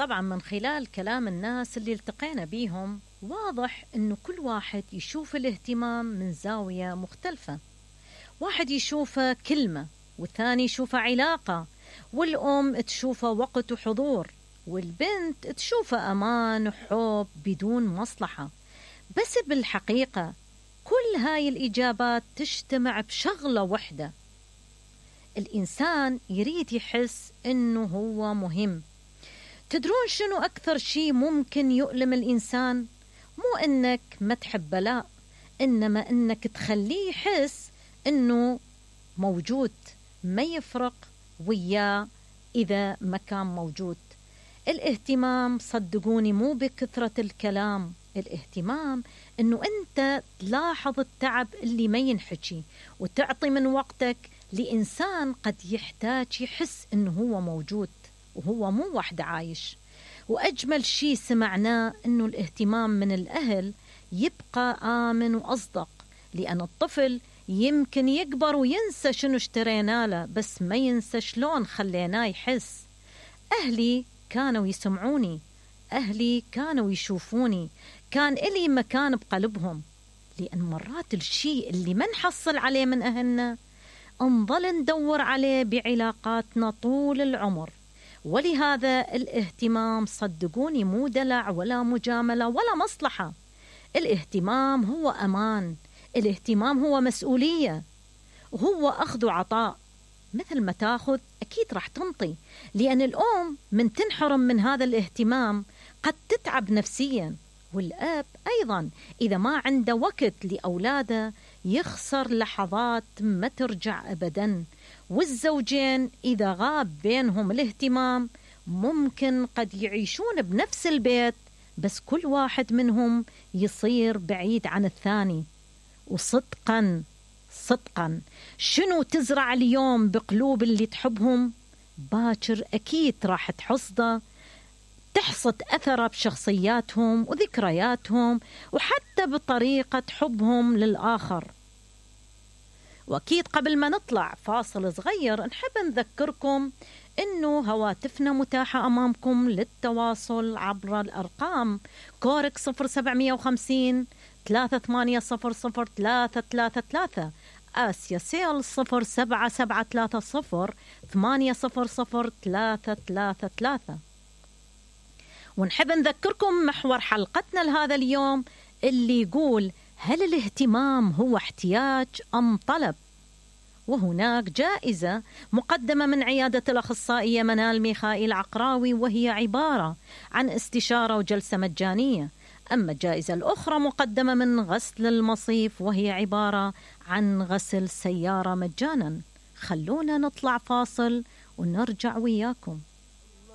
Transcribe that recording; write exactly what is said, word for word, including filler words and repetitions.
طبعا من خلال كلام الناس اللي التقينا بيهم واضح إنه كل واحد يشوف الاهتمام من زاوية مختلفة. واحد يشوفه كلمة، والثاني يشوفه علاقة، والأم تشوفه وقت وحضور، والبنت تشوفه أمان وحب بدون مصلحة. بس بالحقيقة كل هاي الإجابات تجتمع بشغلة وحدة: الإنسان يريد يحس إنه هو مهم. تدرون شنو أكثر شيء ممكن يؤلم الإنسان؟ مو إنك ما تحبه، لا، إنما إنك تخليه يحس إنه موجود، ما يفرق وياه إذا ما كان موجود. الاهتمام صدقوني مو بكثرة الكلام، الاهتمام إنه أنت تلاحظ التعب اللي ما ينحكي وتعطي من وقتك لإنسان قد يحتاج يحس إنه هو موجود وهو مو واحد عايش. وأجمل شيء سمعناه إنه الاهتمام من الأهل يبقى آمن وأصدق، لأن الطفل يمكن يكبر وينسى شنو اشترينا له، بس ما ينسى شلون خليناه يحس. أهلي كانوا يسمعوني، أهلي كانوا يشوفوني، كان إلي مكان بقلبهم. لأن مرات الشيء اللي ما نحصل عليه من أهلنا نظل ندور عليه بعلاقاتنا طول العمر. ولهذا الاهتمام صدقوني مو دلع ولا مجاملة ولا مصلحة. الاهتمام هو أمان، الاهتمام هو مسؤولية، وهو أخذ وعطاء. مثل ما تاخذ أكيد راح تنطي، لأن الأم من تنحرم من هذا الاهتمام قد تتعب نفسيا، والأب أيضا إذا ما عنده وقت لأولاده يخسر لحظات ما ترجع أبدا. والزوجين إذا غاب بينهم الاهتمام ممكن قد يعيشون بنفس البيت، بس كل واحد منهم يصير بعيد عن الثاني. وصدقا صدقا شنو تزرع اليوم بقلوب اللي تحبهم باكر أكيد راح تحصده، تحصد أثره بشخصياتهم وذكرياتهم وحتى بطريقة حبهم للآخر. وأكيد قبل ما نطلع فاصل صغير نحب نذكركم إنه هواتفنا متاحة أمامكم للتواصل عبر الأرقام كورك صفر سبعمية وخمسين ثلاثة ثمانية صفر صفر ثلاثة ثلاثة ثلاثة، آسيا سيل صفر سبعة سبعة ثلاثة صفر ثمانية صفر صفر ثلاثة ثلاثة ثلاثة. ونحب نذكركم محور حلقتنا لهذا اليوم اللي يقول: هل الاهتمام هو احتياج أم طلب؟ وهناك جائزة مقدمة من عيادة الأخصائية منال ميخائيل عقراوي، وهي عبارة عن استشارة وجلسة مجانية. أما الجائزة الأخرى مقدمة من غسل المصيف، وهي عبارة عن غسل سيارة مجانا. خلونا نطلع فاصل ونرجع وياكم.